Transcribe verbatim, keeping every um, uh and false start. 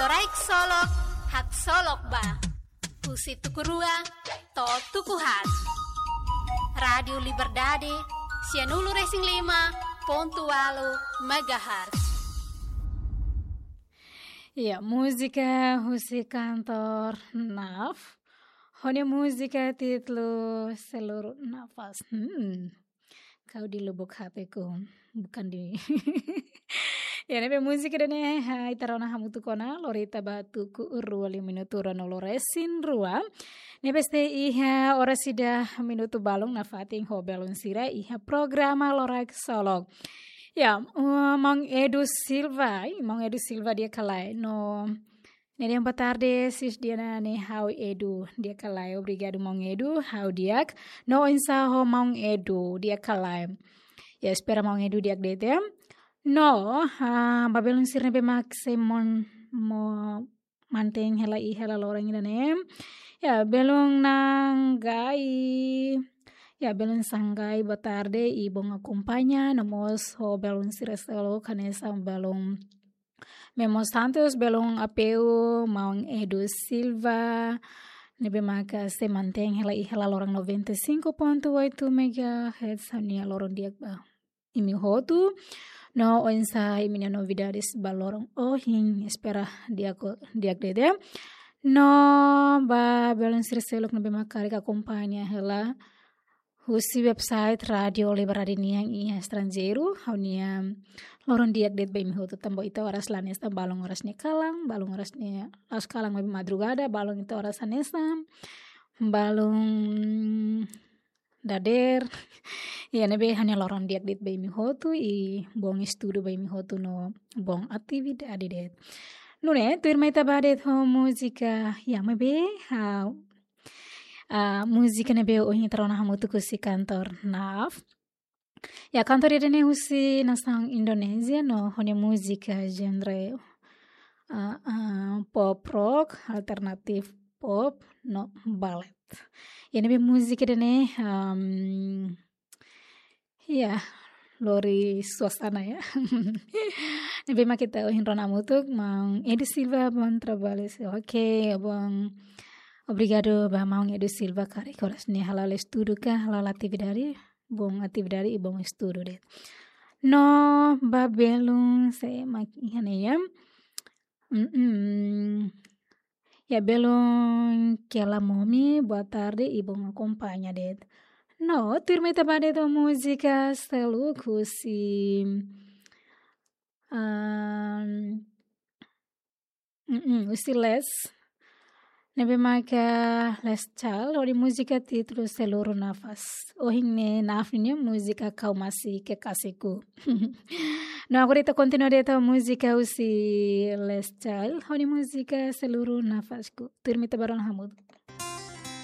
Loraik Solok, haksolok ba. Husi tuku rua to'o tuku haat. Rádiu Liberdade, sianulu-resin-lima pontu ualu megahertz. Ya, múzika husi kantór NAF. Ho nia múzika títulu Seluruh Nafas. Hmm. Kau di lubuk hatiku, bukan di Ya, ne'ebé múzika ida-ne'e, ha, ita rona hamutuk ona, lori ita ba tuku rua liu minutu ruanulu-resin-rua. Ne'ebé sei iha oras ida minutu balun nafatin ho belun sira iha programa Loraik Solok. Ya, uh, Maun Edu Silva, ih, Maun Edu Silva di'ak ka lae. No, ne'e dehan boa tarde, sis Diana, ne'e ha'u Edu di'ak ka lae. Obrigadu, Maun Edu, ha'u di'ak. No oinsá ho Maun Edu, di'ak ka lae? Ya, espera Maun Edu di'ak de'it, ya. No, ah, ba belun sira ne'ebé mak sei mon-, mo-, mantein hela iha hela loron ida-ne'e. Ya, belun Nanggai. Ya, belun Sanggai, boa tarde, i bom akompaña, no mós ho belun sira seluk hanesan belun Memo Santos, belun Apeu, Maun Edu Silva, ne'ebé maka sei mantein hela iha hela loron noventa e cinco ponto oito megahertz, ha'u-nia loron di'ak ba imi hotu. No oinsá imi-nia novidades ba loron ohin, espera di'ak, di'ak de'it. No ba belun sira seluk ne'ebé mak karik akompaña hela husi website Rádiu Liberdade nian iha estranjeiru, ha'u-nia loron di'ak de'it ba imi hotu, tanba ita oras la hanesan, balun oras ne'e kalan, balun oras ne'e la'ós kalan, maibé madrugada, balun ita oras hanesan, balun dadeer. Ya, ne'ebé ha'u-nia loron di'ak de'it ba imi hotu, i bom estudu ba imi hotu no bom atividade de'it. Nune'e, tuirmai ita bá de'it ho múzika, ya, maibé, ha, ah, múzika ne'ebé ohin ita rona hamutuk husi kantór NAF. Ya, kantór ida-ne'e husi nasaun Indonézia, no ho nia múzika genre, ah, ah, pop rock, alternatif pop, no balad. Ya, ne'ebé múzika ida-ne'e, am, ya, lori suasana, ya. Ne'ebé mak ita ohin rona hamutuk, Maun Edu Silva, bom trabalho. Oke, bom. Obrigadu ba Maun Edu Silva, karik oras ne'e hala'o estudu ka, hala'o atividade, bom atividade i bom estudu de'it. No ba belun sé mak iha ne'e, ya. Mm-mm. Ya, belun Kela Momi, boa tarde i bom akompaña de'it. No, tuirmai ita bá de'it ho múzika seluk husi, am, mm-mm, husi Les. Ne'ebé maka Les Child, ho nia múzika títulu Seluruh Nafas. Ohin ne'e NAF nia múzika Kau Masih Kekasihku. No, agora ita kontinua de'it ho múzika husi Les Child, ho nia múzika Seluruh Nafasku. Tuirmai ita bá rona hamutuk.